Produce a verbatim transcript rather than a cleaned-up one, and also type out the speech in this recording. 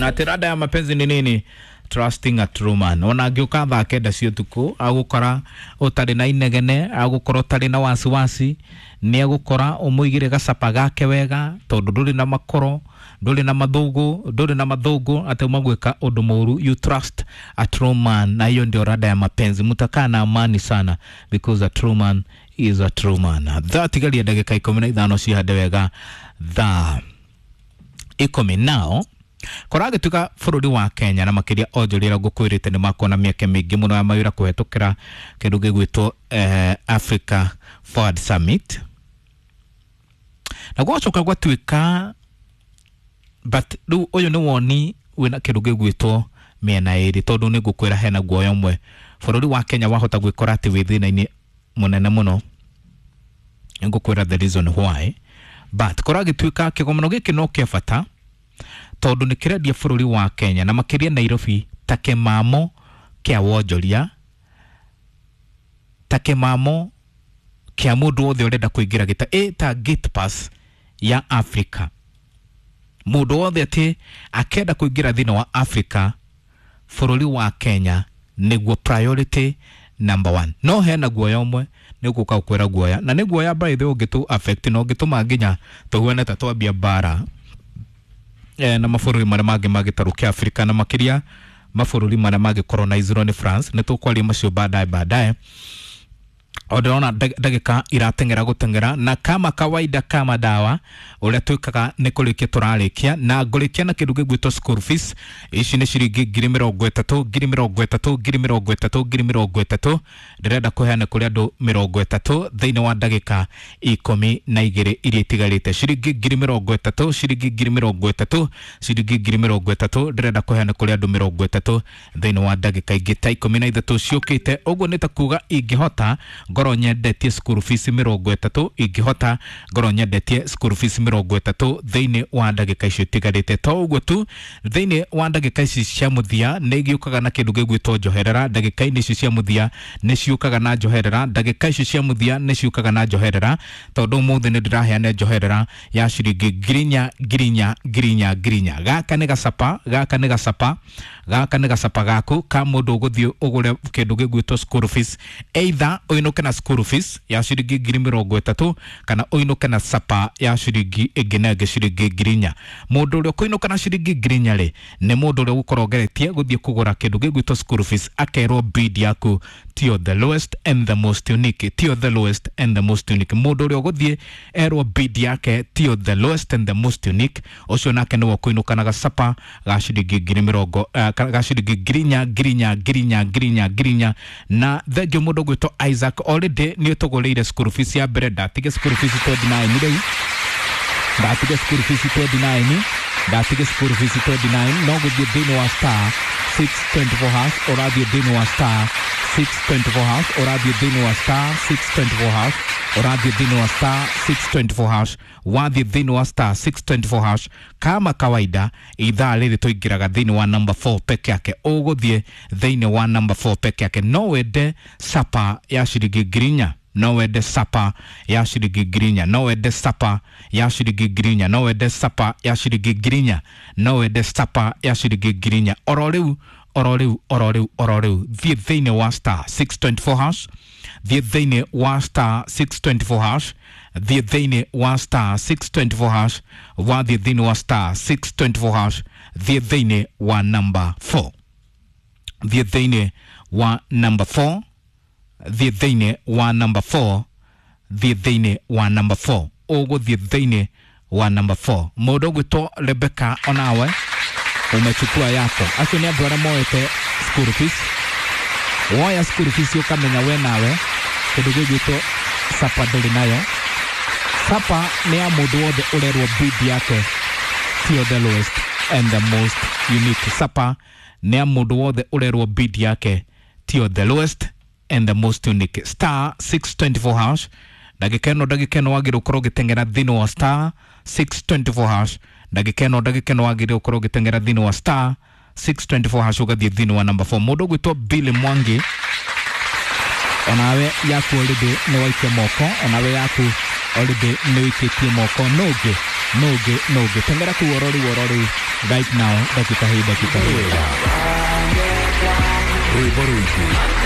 Ati rada ya mapenzi ni nini? Trusting a true man. Ona angĩũka thaa kenda cia ũtukũ agũkora ũtarĩ na inegene, agũkora ũtarĩ na wasiwasi, nĩ agũkora ũmũigĩre gacapa gake wega tondũ ndũrĩ na makoro, ndũrĩ na mathũgũ, ndũrĩ na mathũgũ atĩ uma gwĩka ũndũ mũru. You trust a true man, na hiyo ndio rada ya mapenzi. Mtakaa na amani sana because a true man is a true man. Thaa tigaria ndagĩka ikũmi na ithano cihande wega thaa ikũmi nao koragĩtuĩka bũrũri wa Kenya na makĩria onjoria arĩa ngũkwĩrĩte nĩ makona mĩeke mĩingĩ mũno ya mawĩra kũhetũkĩra kĩndũ gĩgwĩtwo eh, Africa Forward Summit, na gwacoka gwatuĩka, but rĩu ũyũ nĩ woni wĩna kĩndũ gĩgwĩtwo mĩena ĩrĩ, tondũ nĩ ngũkwĩra hena guoya ũmwe bũrũri wa Kenya wahota gwĩkora atĩ wĩ thĩna-inĩ mũnene mũno. Nĩ ngũkwĩra the reason why, but koragĩtuĩka kĩgomano gĩkĩ no kĩa bata tondũ nĩ kĩrendia bũrũri wa Kenya na makĩria Nairobi ta kĩmamo kĩa wonjoria, ta kĩmamo kĩa mũndũ wothe ũrenda kũingĩra gĩta ĩ ta gate pass ya Africa. Mũndũ wothe atĩ akenda kũingĩra thĩinĩ wa Africa, bũrũri wa Kenya nĩguo priority number one. No hena guoya ũmwe nĩ gũka gũkwĩra guoya, na nĩ guoya by the way ũngĩtũ affect na ũngĩtũma nginya tũhuane ta twambia mbara eh, na mabũrũri marĩa mangĩ ma gĩtarũ kĩa Afrika na makĩria mabũrũri marĩa mangĩ colonizirwo nĩ France. Nĩ tũkwaria macio baadaye baadaye. O ndĩrona ndagĩka irateng'era gũteng'era, na kama kawaida kama dawa ũrĩa twĩkaga nĩ kũrĩkia tũrarĩkia, na ngũrĩkia na kĩndũ gĩgwĩtwo school fees. Ici nĩ ciringi ngiri mĩrongo ĩtatũ, ngiri mĩrongo ĩtatũ, ngiri mĩrongo ĩtatũ, ngiri mĩrongo ĩtatũ. Ndĩrenda kũheana kũrĩ andũ mĩrongo ĩtatũ thĩinĩ wa ndagĩka ikũmi na igĩrĩ iria itigarĩte. Ciringi ngiri mĩrongo ĩtatũ, ciringi ngiri mĩrongo ĩtatũ, ciringi ngiri mĩrongo ĩtatũ ndĩrenda kũheana kũrĩ andũ mĩrongo ĩtatũ thĩinĩ wa ndagĩka ingĩ ta ikũmi na ithatũ ciũkĩte. Ũguo nĩ ta kuga ingĩhota ngorwo nyendetie school fees mĩrongo ĩtatũ, ingĩhota ngorwo nyendetie school fees mĩrongo ĩtatũ thĩinĩ wa ndagĩka icio itigarĩte. To ũguo tu, thĩinĩ wa ndagĩka ici cia mũthia nĩ igĩũkaga na kĩndũ gĩgwĩtwo njoherera. Ndagĩka-inĩ ici cia mũthia nĩ ciũkaga na njoherera, ndagĩka ici cia mũthia nĩ ciũkaga na njoherera, tondũ ũmũthĩ nĩ ndĩraheana njoherera ya ciringi ngiri inya, ngiri inya, ngiri inya, ngiri inya. Gaka nĩ gacapa, gaka nĩ gacapa, gaka nĩ gacapa gaku ka mũndũ ũgũthiĩ ũgũre kĩndũ gĩgwĩtwo school fees, either ũinũke na school fees ya ciringi ngiri mĩrongo ĩtatũ kana ũinũke na sapa ya ciringi ĩngĩ na ĩngĩ ciringi ngiri inya. Mũndũ ũrĩa ũkũinũka na ciringi ngiri inya rĩ, nĩ mũndũ ũrĩa ũgũkorwo ũgeretie gũthiĩ kũgũra kĩndũ gĩgwĩtwo school fees, akerwo bid yaku tio the lowest and the most unique, tio the lowest and the most unique. Mũndũ ũrĩa ũgũthiĩ erwo bid yake tio the lowest and the most unique, ũcio nake nĩwe ũkũinũka na gacapa ga ciringi ngiri mĩrongo uh, ga ciringi ngiri inya, ngiri inya, ngiri inya, ngiri inya, ngiri inya. Na thengio mũndũ ũgwĩtwo Isaac already nĩ ũtũgũrĩire school fees ya mbere, ndatige school fees twenty-nine rĩu, ndatige school fees twenty-nine, ndatige school fees twenty-nine. No gũthiĩ thĩinĩ wa star six twenty-four hash, ũrathiĩ thĩinĩ wa star six twenty-four hash, ũrathiĩ thĩinĩ wa star six twenty-four hash, ũrathiĩ thĩinĩ wa star six twenty-four hash, wathiĩ thĩinĩ wa star six twenty-four hash. Kama kawaida ithaa rĩrĩ tũingĩraga thĩinĩ wa number four peke yake, ũgũthiĩ thĩinĩ wa number four peke yake. No wende sapa ya ciringi ngiri inya, no wende sapa ya ciringi ngiri inya, no wende sapa ya ciringi ngiri inya, no wende sapa ya ciringi ngiri inya, no wende sapa ya ciringi ngiri inya. Oro rĩu, oro rĩu, oro rĩu, oro rĩu thiĩ thĩinĩ wa star six twenty-four hash, thiĩ thĩinĩ wa star six twenty-four hash, thiĩ thĩinĩ wa star six twenty-four hash, wathiĩ thĩinĩ wa star six twenty-four hash, thiĩ thĩinĩ wa number four, thiĩ thĩinĩ wa number four, thiĩ thĩinĩ wa number four, thiĩ thĩinĩ wa number four, ũgũthiĩ thĩinĩ wa number four. Mũndũ ũgwĩtwo Rebecca onawe umechukua yako. Acio nĩ andũ arĩa moete school fees. Woya school fees ũkamenya we nawe kĩndũ gĩgwĩtwo sapa ndũrĩ nayo. Sapa nĩ ya mũndũ wothe ũrerwo bid yake tio the lowest and the most unique. Sapa nĩ ya mũndũ wothe ũrerwo bid yake tio the lowest and the most unique. Star six twenty-four hash, ndagĩka ĩno, ndagĩka ĩno wagĩrĩirwo ũkorwo ũgĩteng'era thĩinĩ wa star six twenty-four hash, ndagĩka ĩno, ndagĩka ĩno wagĩrĩirwo ũkorwo ũgĩteng'era thĩinĩ wa star six twenty-four hash ũgathiĩ thĩinĩ wa number four. Mũndũ ũgwĩtwo Billy Mwangi, onawe yaku already nĩ waikia moko, onawe yaku already nĩ wĩikĩtie moko. No ũngĩ Nũngĩ nũngĩ teng'era kũu oro rĩu oro rĩu right now, dakika hii dakika hii. Rwĩmbo rũingĩ.